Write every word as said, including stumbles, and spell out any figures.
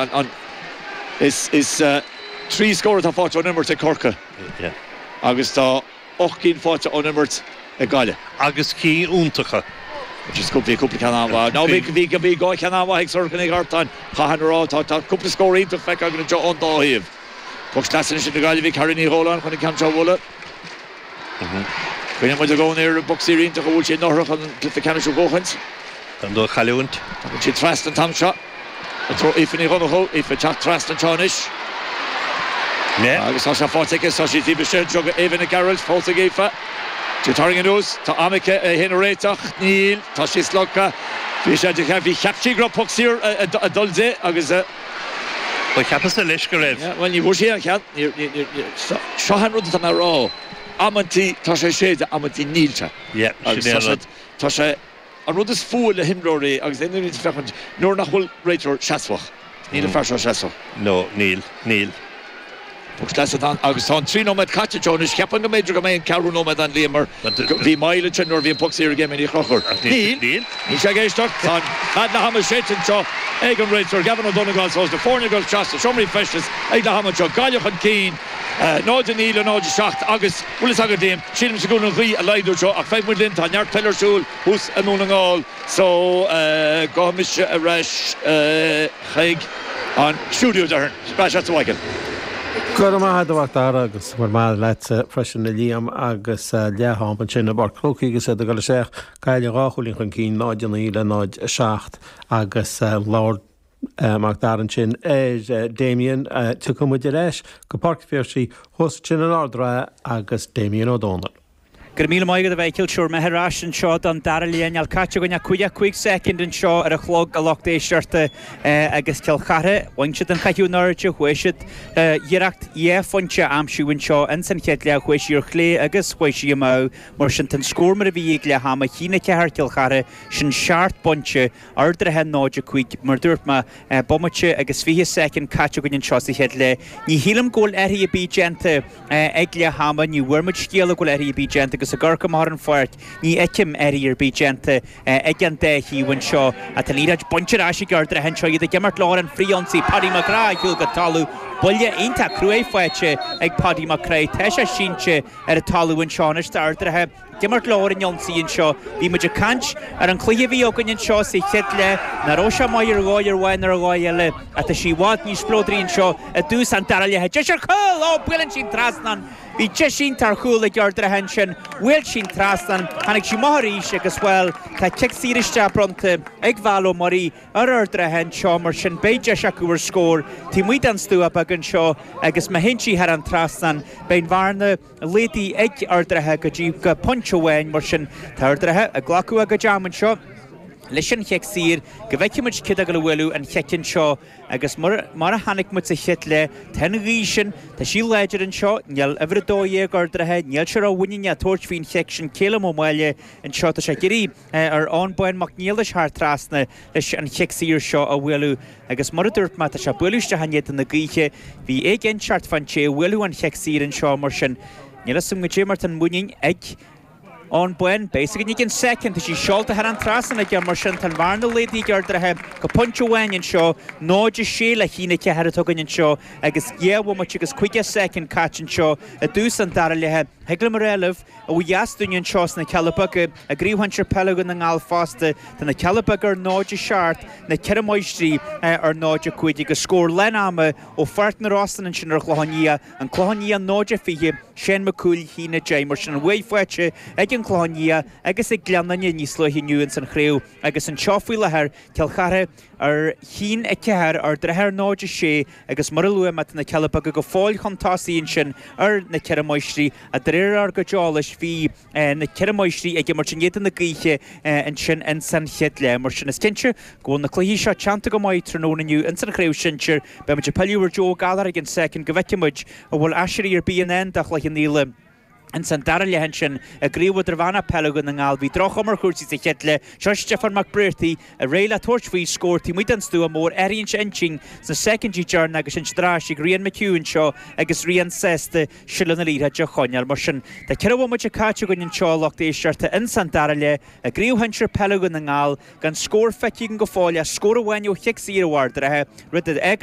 an, an, is, is uh, trí scór atá faighte ón imirt ag Corcaigh Yeah. agus tá ocht gcinn faighte ón imirt ag Gaillimh. Agus cinn iontacha. Just cúpla cúpla ceann an-mhaith. Ná bhí bhí bhí dhá cheann an-mhaith ag Sorcha Ní Artáin chahan rá tá tá cúpla scór iontach feicthe againn anseo ón dá thaobh. Poc sleasa na Gaillimhe Carrie Ní Dhóláin chun an ceann seo a bhualadh. Cuimhníonn muid i gcónaí ar an bpoc saor iontach a bhuail sí anuraidh chun cluiche ceannais a bhuachaint. An dó chailliúint. Tá sí trasna an t-am seo. Tró Aoife Ní Dhonnchú, Aoife teacht trasna anseo anois. Ne. Agus tá sé faighte aici tá sí taobh istigh seo Eva Nic Gearailt fós ag Aoife. Tú tarraing anuas tá am aici é a réiteach níl tá sí slogtha Bhí sé de bhí cheap sí go raibh poc saor ag dul di agus Ba cheapas leis go raibh. Well ní bhfuair sí an cead seo an rud atá mé rá. Amantaí tá sé séide amantaí níl sé. Agus tá sé tá sé an rud is fuath le himreoirí agus aon féachaint nuair nach bhfuil réiteoir seasmhach. Níl an fear seo seasmhach. No, níl, níl. Agus agus tá trí nóiméad caite Jonas ceapaim go mb'fhéidir go mbeidh an ceathrú nóiméad ann Liam mar bhí moill sin nuair bhí an poc saor ag Ní Chrochúir. Níl Níl sé ag éisteacht tá fead leath ama séidte anseo ag an réiteoir Gavin Ó Donngáil sós na foirne ag dul sna seomraí feistis ag leath ama anseo Gaillimh chun cinn náid a naoi le náid a seacht agus bhfuil a fhios agat Liam sílim go an ghaoth a laghdú seo ach beidh muid linn tá neart peile ar siúl thuas i nDún na nGall so gabhfaidh mise ar ais chuig an stiúideo deartháir Spás a Mhichael. Go raibh maith agat a Mhac agus mar maith leat freisin a Liam agus leath-am ansin i bPáirc an Chrócaigh agus iad ag dul isteach Gaillimh dhá chúilín chun cinn náid a naoi le náid a seacht agus labhair Mac Dara ansin ar Damien tiocfaidh muid ar ais go Páirc an Phiarsaigh thuas ansin in Ard an Rátha agus Damien Ó Dónaill. Go raibh míle maith agat a Mhichíl sure mé ar ais anseo don dara leath níl caite againn ach caoga cúig soicind anseo ar an chlog a lucht éisteachta agus Cill Chartha bhain siad an caitheamh in airde chuaigh siad iarracht dhá phointe a aimsiú anseo ins an chéad leath chuaigh sí ar chlé agus chuaigh sí amú mar sin tá an scór mar a bhí ag leath ama a haon a ceathair Cill Chartha sin seacht bpointe Ard an Rátha náid a cúig mar dúirt mé bomaite agus fiche soicind caite againn anseo sa chéad leath. Ní shílim go bhfuil athruithe ar bith déanta ag leath ama ní bhfuair muid scéala go bhfuil athruithe ar bith déanta agus ag amharc amach ar an pháirc ní fheicim athruithe ar bith déanta ag an dá thaobh anseo tá an liathróid bainte ar ais ag Ard an Rátha anseo iad ag imirt leo ar an frithionsaí Paddy McGrath ar shiúl go talamh buille iontach cruaidh faighte ag Paddy McCray tá sé sínte ar an talamh anseo anois Ard an Rátha ag imirt leo ar an ionsaí anseo bhí muid ag caint ar an chluiche a bhí againn anseo sa chéad leath nach raibh sé maith ar dhóigh ar amháin ar dhóigh eile ach tá sí i bhfad níos spleodraí anseo i dtús an dara leatha deis ar chúl ó buaileann sí an trasnán Bhí deis iontach ar chúl ag Ard an Rátha ansin bhuail sí an trasnán tháinig sí amach arís agus bhuel tá cic saor isteach bronnta ag Val Ó Muirí ar Ard an Rátha anseo mar sin beidh deis acu ar scór taobh amuigh den stua beag anseo agus má théann sí thar an trasnán beidh an bhearna laghdaithe ag Ard an Rátha go dtí go pointe amháin mar sin tá Ard an Rátha ag glacadh a gcuid am anseo leis an chic saor go bhfeicfidh muid cé atá ag gabháil a bhualadh an chic anseo agus mar mar a chonaic muid sa chéad leath tá an ghaoth sin tá sí láidir anseo níl uimhir a dó dhéag Ard an Rátha níl sé rómhuiníneach tabhairt faoin chic sin Céile Ó Máille anseo tá sé ag iarraidh ar Eoin Bán Mac Niallais thar trasna leis an chic saor seo a bhualadh agus mar a dúirt mé tá sé bualadh isteach in éadan na gaoithe bhí éiginnteacht fán té a bhuailfeadh an chic saor anseo mar sin níl a fhios agam goidé mar tá an muinín ag Eoin Bán beidh a fhios againn i gcionn soicind tá sí seolta thar an trasnán aige mar sin tá an bhearna laghdaithe ag Ard an Rátha go pointe amháin anseo náid a sé le haon a ceathair atá againn anseo agus dhá bhomaite agus caoga soicind caite anseo i dtús an dara leatha Thig liom a rá libh ó dheas dúinne anseo sna Cealla Beaga i gCraobh Shinsir Peile Dhún na nGall fosta tá na Cealla Beaga ar náid a seacht na Ceithre Máistrí ar náid a cúig agus scór lán ama ó Pháirc na Rosann ansin ar an Chlochán Liath an Clochán Liath náid a fiche Shane Mac Cumhaill haon a deich mar sin an bhuaidh faighte ag an Chlochán Liath agus ag Gleann Fhinne níos luaithe inniu ins an chraobh agus anseo faoi láthair Cill Chartha ar haon a ceathair Ard an Rátha ar náid a sé agus mar a luaigh mé tá na Cealla Beaga go fóill chun tosaigh ansin ar na Ceithre Máistrí a de réir ár gcuid eolais bhí na Ceithre Máistrí ag imirt in éadan na gaoithe ansin ins an chéad leath mar sin is cinnte go bhfuil na cluichí seo teannta go maith tráthnóna inniu ins an chraobh sinsir beidh muid ag pilleadh ar Joe Gallagher ag an soicind go bhfeicfidh muid an bhfuil aiséirí ar bith in ndán do Chloich Cheann Fhaola. Ins an dara leath ansin i gCraobh Idirmheánach Peile Dhún na nGall bhí droch-chuma ar chúrsaí sa chéad leath. Seo Stiofán Mac Briartaigh ag réidh le tabhairt faoi scór taobh amuigh den stua mór. Athraíonn sé intinn sna soicindí deireanacha agus sin ar ais ag Rian McHugh anseo agus Rian sásta seilbh na liathróide a choinneáil. Mar sin tá ceithre bhomaite caite againn anseo a lucht éisteachta ins an dara leath i gCraobh Shinsir Peile Dhún na nGall gan scór feicthe againn go fóill ach scór amháin ó chic saor ó Ard an Rátha, rud a fhágann